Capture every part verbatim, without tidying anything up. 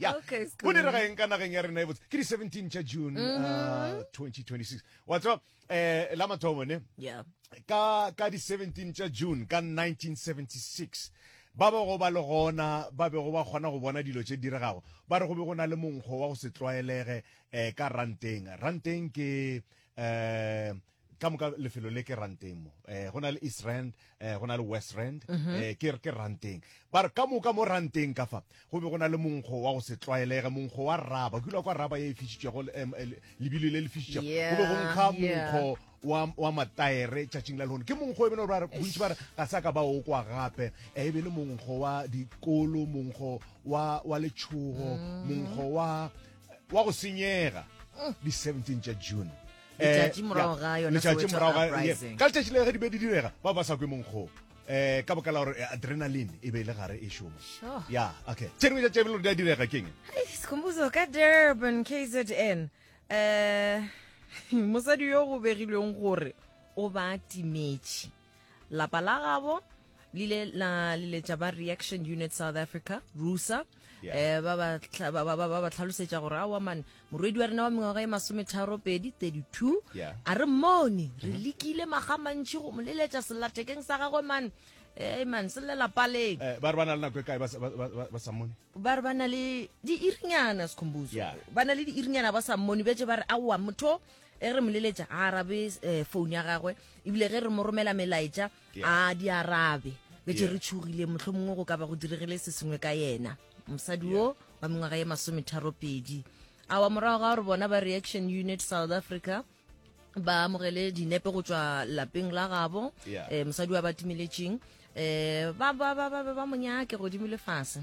Okay, Go direga eng ka nageng ya rena e botse? Ke di seventeen tša June uh, twenty twenty-six. Wa tseba, eh la mathomo ne, Yeah. ka ka di seventeen tša June ka nineteen seventy-six, ba bego ba le gona, ba bego ba kgona go bona dilo tše di diregago, ba re go be go na le monkgo wa go se tlwaelege um ka ranteng. Ranteng ke um ka moka lefelo le ke ranteng mo, um go na le East Rand, um go na le West Rand, um ke ke ranteng. Ba re ka moka mo ranteng ka fa go be go na le monkgo wa go se tlwaelege, monkgo wa raba. Ke ile kwa raba ye e fišitšego, em, eh, lebilo le le fišitšego, go be go nkga Yeah, yeah. monkgo wa wa mataere. Tšatšing la lehono ke monkgo e bene gore ba re bontši ba re ga sa ka ba o kwa gape. Eh, e be le monkgo wa dikolo, monkgo wa wa letšhogo, monkgo wa wa go senyega, di seventeen tša June. Eh, Letšatši morago ya, ga yona letšatši Soweto morago ga- uprising. Ka letšatši le ge di be di direga, ba ba sa kwe monkgo um ka baka la gore eh, adrenaline e be e le gare e šoma. Sure. Ya, okay, tše dingwe tša tše bele di a direga keng? Hey, Sikhumbuzo, ka Durban, K Z N. Eh mosadi yo go begilweng gore o ba timetše. Lapa la gabo le ile la leletša ba Reaction Unit South Africa, RUSA. Yeah. Eh ba ba tlha- ba ba ba ba ba tlhalosetša gore aowa man, morwedi wa rena wa mengwaga e masometharo pedi, thirty-two, Yeah. a re mmone. Re lekile maga mantši go mo leletša sellathekeng sa gagwe man, eh man, se llela paleng. Eh, ba re ba na le nako e kae ba sa- ba- ba ba- ba sa mmone? Ba re ba na le diirinyana, Sekhumbuzo. Yeah. Ba na le diirinyana ba sa mmone. Betse ba re aowa, motho e re mo leletša a arabe um phone ya gagwe, ebile ge re mo romela melaetša Yeah. a di arabe. Betse Yeah. re tšhogile, motlho mongwe go ka ba go diregile se sengwe ka yena, mosadi wo wa mengwaga ye masometharo pedi. Awa, morago ga gore bona ba Reaction Unit South Africa ba amogele dinepe go tšwa lapeng la gabo, Yeah. eh, mosadi wa ba timeletšeng, eh ba ba ba ba ba monyake godimo le fase,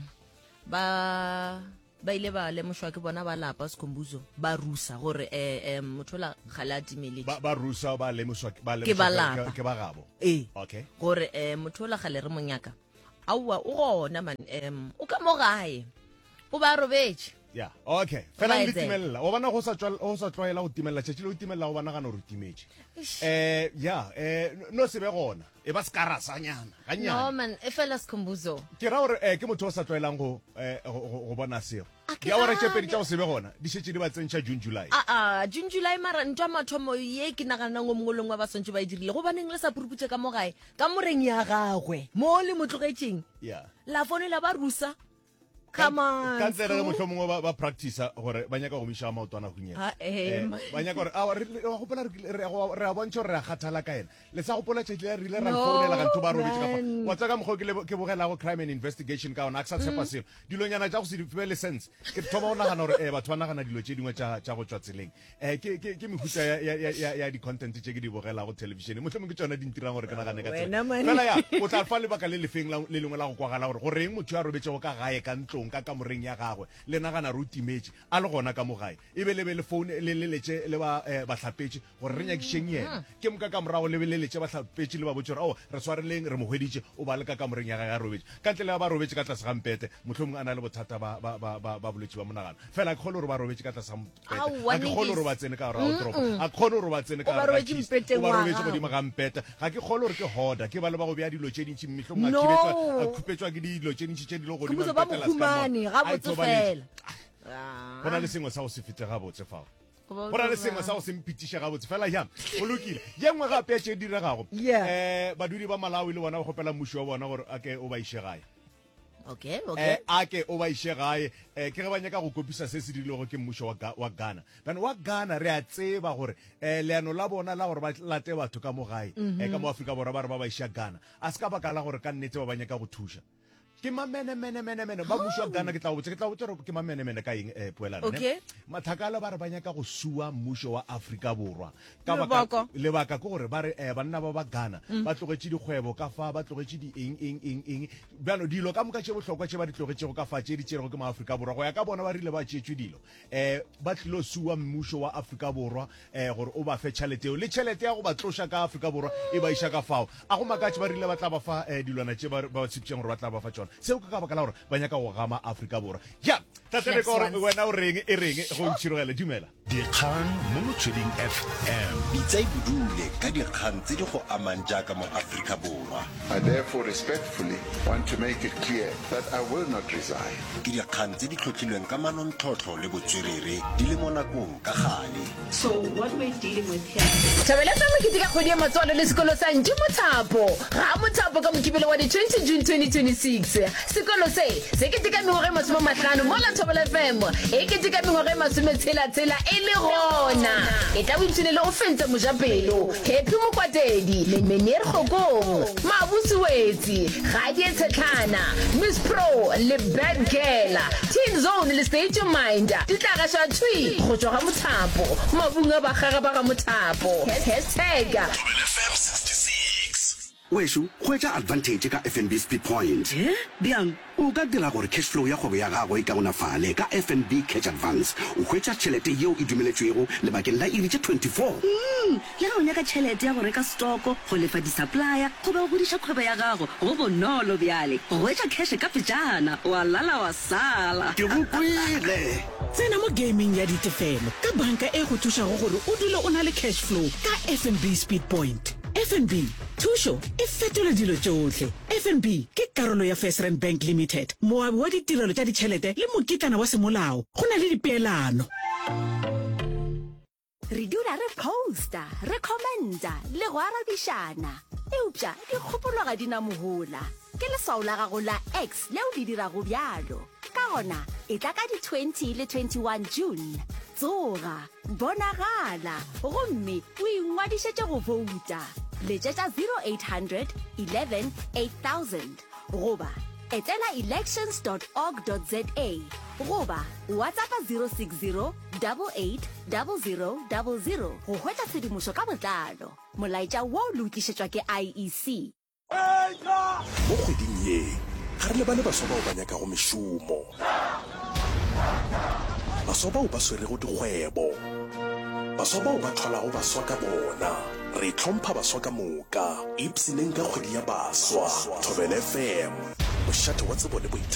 ba ba ile ba lemošwa ke bona ba lapa, Sekhumbuzo, ba rusa gore eh eh motho la gale a timeletše. Ba ba rusa ba lemoswa ba Ke ba lemoswa lapa. ke ba gabo? Ee. Okay. Gore eh motho la gale re monyaka, aowa, o gona man, em o ka mo gae, o ba robetše. Ya, okay, fela Ba le etsela. timelela o bona go sa tswa- go sa tlwaela go timelela. Tšatši le o timelela, go ba nagana gore o timetše, eh ya, eh no se be gona, e ba sekarasanyana No gannyane. man, e fela, Sekhumbuzo, Ke ra gore eh ke motho o sa tlwaelang go eh, go go- go bona seo. A ke Diawara tše gane. pedi tša go se be gona di šetše di ba tsentšha June, July. Aa, June, July, mara ntho ya mathomo ye ke naganang o mongwe le ngwe ba swantse ba e dirile, gobaneng le sa puruputše ka mo gae, ka moreng ya gagwe mo le mo tlogetšeng, ya la founela ba rusa? Come on. Ka ntle re motlho mongwe ba- ba practice gore ba nyaka go miša maotwana hunyela. Ah, eh, Eh, ma- ba nyaka gore awa, re re- wa gopola re kile- re a re a bontšha gore re a kgathala ka ena. Le sa gopola tšatši le re ile ra No, founela ga ntho ba robetše ka fa? man. Wa tseba ka mokgwa o ke lebo- ke bogelago Crime and Investigation ka ona, a ke sa tshepa selo. Dilonyana tša go se di be le sense, ke thoma go nagana gore um batho ba nagana dilo tše dingwe tša tša go tšwa tseleng. um ke ke- ke mehuta ya- ya- ya- ya ya di-content tše ke di bogelago television, mohlomong ke tšona di ntirang gore ke nagane ka tsela. Wena, man. Fela ya o tla fa lebaka le lefeng la- le lengwe la go kwagala gore goreng motho yo a robetšego ka gae, ka ntlong, ka kamoreng ya gagwe, le nagana re o timetše a le gona ka mo gae, e be le be le phone le leletše le ba eh, bahlapetše gore re nyakišeng yena, ke moka ka morago le be leletše bahlapetše le ba botse gore ao, re swareleng, re mo hweditše, o ba le ka kamoreng ya gage a robetše, ka ntle le ba ba robetše ka tlase ga mpete, mohlomongwe a na le bothata ba ba- ba ba- ba bolwetši ba monagano. Fela a ke kgone gore ba robetše ka tlase ga mpete. Aowa, A ke kgone gore niggas. ba tsene ka gare ga toropo, a ke kgone gore ba tsene ka O ba gare ga robetše kist. mpeteng O ba wa robetše gago. godimo ga mpete. Ga ke kgone gore ke hoda, ke ba le ba go bea dilo tše dintši, mehlomongwe a No. khibetšwa- a khupetšwa ke dilo tše dintši tše di le godimo Khumbuzo, ga ba mo mpete la ska mo. humane A gabotse ithobaletše. fela. Go na le sengwe sa go se fete gabotse fao, go na le sengwe sa go se mpitiše gabotse. Fela ya, go lokile. Ye nngwe gape ya tše di diregago, Yeah. um badudi ba Malawi le bona ba kgopela mmušo wa bona gore a ke o ba iše gae. Okay okay eh a ke o ba iše gae, eh ke ge ba nyaka go kopisa se se dirilego ke mmušo wa Ga- wa Ghana. Bjane wa Ghana re a tseba gore eh leano la bona la gore ba late batho ka mo gae, eh ka mo Afrika Borwa, ba re ba ba iša Ghana, a se ka baka la gore ka nnete ba ba nyaka go thuša. Ke mamenemenemenemene ba mmušo wa Ghana. Ke tla go botša, ke tla go botša gore ke mamenemene ka eng, eh poelano ne? Okay. Mathakala ba re ba nyaka go sua mmušo wa Afrika Borwa ka baka Lebaka? Lebaka ke gore ba re eh, banna ba ba Ghana ba tlogetše dikgwebo ka fa, ba tlogetše di eng eng eng eng, bjalo dilo ka moka tše bohlokwa tše ba di tlogetšego ka fa, tše di tšerego ke maAfrika Borwa, go ya ka bona ba rile ba tšeetšwe dilo, um ba tlilo sua mmušo wa Afrika Borwa um gore o ba fe tšhelete eo le tšhelete ya go ba tloša ka Afrika Borwa e ba iša ka fao. A go makatše ba rile ba tla ba fa um dilwana tše ba ba tshepšeng gore ba tla ba fa tšona. Seo ke ka baka la gore ba nyaka go gama Afrika Borwa. Ya, tate Flex gore ones. wena o reng e reng go ntšhirogele dumela. Dikgang mo Motsweding F M. Bitsa e bodule ka dikgang tse di go amang jaaka mo Afrika Borwa. I therefore respectfully want to make it clear that I will not resign. Ke dikgang tse di tlhotlhilweng ka manontlhotlho le botswerere di le mo nakong ka gale. So what we're dealing with here Thobela F M e keteka kgwedi ya matswalo le sekolo sa Ntši Mothapo ga Mothapo ka Mokibelo wa di twenty June twenty twenty-six. Sekolo se se keteka mengwaga e masome mahlano mola Thobela F M e keteka mengwaga e masometshela-tshela e le gona. E tla boipshine le o fentse mojapelo Happy Mokwatedi, Meneer Kgokong, Mabusi Wetsi, Gadie Tshetlhana, Miss Pro le Bad Girl, Teen Zone le State Your Mind di tla gašwa thwi go tšwa ga Mothapo mabung a bagaga ba ga Mothapo. Hashtag Thobela F M sixty-six. Wešo, hwetša advantage ka F N B Speed Point. E bjang? O ka dira gore cash flow ya kgwebo ya gago e kaonafale ka F N B Cash Advance. O hwetša tšhelete yeo e dumeletšwego lebakeng la iri tše twenty-four. Mm, le ge o nyaka tšhelete ya go reka stoko, go lefa di-supplier goba go godiša kgwebo ya gago, go bonolo bjale go hwetša cash ka pejana, wa lala wa sala. Ke go kwele. Tsena mo gaming ya ditefelo ka banka e go thušago gore o dule o na le cash flow ka F N B Speed Point. F N B, thušo e fetola dilo tšohle. F N B ke karolo ya First Rand Bank Limited, moabi wa ditirelo tša ditšhelete le mokitlana wa semolao go na le dipeelano. Re dula re posta, re commenta le go arabišana, eupša dikgopolo ga di na mohola. Ke leswao la gago la X leo le dirago bjalo. Ka gona e tla ka di twenty le twenty-one June, tsoga, bonagala gomme o ingwadišetše go bouta. Letšetša zero eight hundred eleven eight thousand goba etela elections dot org dot za goba WhatsAppa zero six zero eight eight zero zero zero go hwetša tshedimošo ka botlalo. Molaetša wo le o tlišetšwa ke I E C. Mo kgweding ye ga re lebale baswa bao ba nyakago mešomo, baswa bao ba swerego dikgwebo, baswa bao ba thwalago baswa ka bona. Re hlompha baswa ka moka. Ipshineng ka kgwedi ya baswa. Thobela F M, mošate wa tsebo le boithabišo.